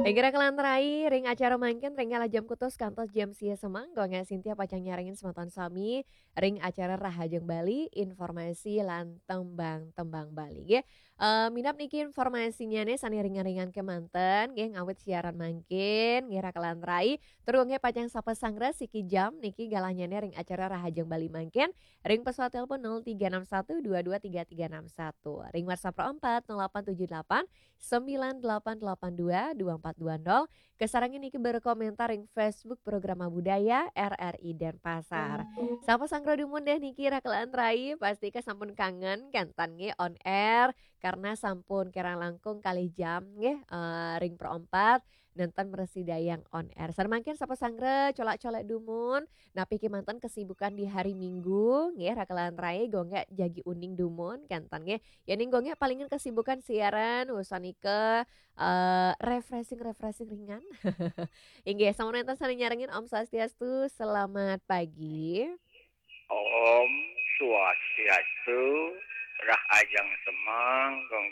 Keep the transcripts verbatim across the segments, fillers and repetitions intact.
Kira-kira kalantaran ring acara mangkin, ring kala jam kutus kantos jam sia semeng, Gung Sintia pacang nyarengin semeton sami ring acara Rahajeng Bali, informasi lan tembang-tembang Bali. Nggih. Eh, minab niki informasinya nih sane ringan-ringan kemanten, nggih, ngawit siaran mangkin, nggih, kira-kira kalantaran. Tur nggih pacang sapa sanggra siki jam niki galahnya nih ring acara Rahajeng Bali mangkin, ring pesawat telepon nol tiga enam satu dua dua tiga tiga enam satu. Ring WhatsApp empat nol delapan tujuh delapan sembilan delapan delapan dua dua empat dua nol. Kasarengin niki berkomentar ring Facebook Programa Budaya R R I Denpasar. Sapa sanggra dumun deh niki kira-kira kalantaran, pasti ka sampun kangen kenten nggih on air karena sampun kirang langkung kalih jam nggih, eh, ring pro empat nenten mrasidayang on air. Sareng mangkin sapa sanggra colak-colek dumun, napi kemanten kesibukan di hari Minggu nggih, kira-kira kalantaran, Gung jagi uning dumun kenten nggih. Yening Gung palingan kesibukan siaran, usan ike, eh, refreshing-refreshing ringan. Inggih, sampun wenten sane nyarengin, Om Swastiastu, selamat pagi. Om Swastiastu, Rahajeng semeng, Gung.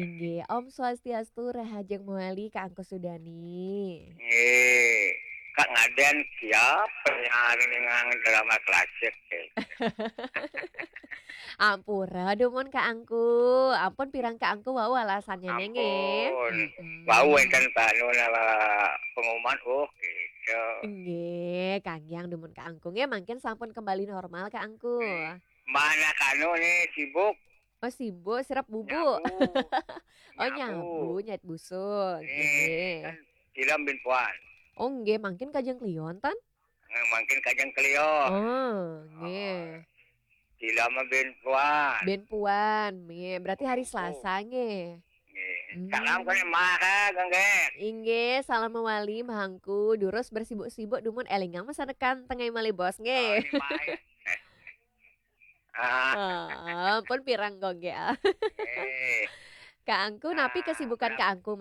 Inggih, Om Swastiastu, Rahajeng mawali, Kak Angku Sudani. Nggih, Kak ngaden siap penyanyi dengan drama klasik, eh. Ampura dumun Kak Angku. Ampun pirang Kak Angku wau alasannya nggih. Ampun. Mm-mm. Wau enten panu nama pengumuman, oh, gitu. Nggih, kanggiang dumun Kak Angku. Nggih, mangkin sampun kembali normal Kak Angku. Nggih. Mana kanu nih sibuk? Oh, sibuk, sirep bubu. Nyabu. Oh, nyabu, nyabu, nyait busur. Nggih, nggih. Kan film bin Puan. Oh, nggih, mangkin kajeng klion, tan? Eh, mangkin kajeng klion. Oh, nggih. Film bin Puan. Bin Puan, nggih. Berarti hari Selasa, nggih. Nggih. Hmm. Salam kene Maha, Gung. Inggih, salam mawali, Mahangku. Durus bersibuk-sibuk, dumun elingang masa depan, tengah malih bos, nggih. Oh, ini Maha. Ah. Oh, pun pirang, Gung, nggih. Eh. Kak Angku, napi kesibukan Kak Angku,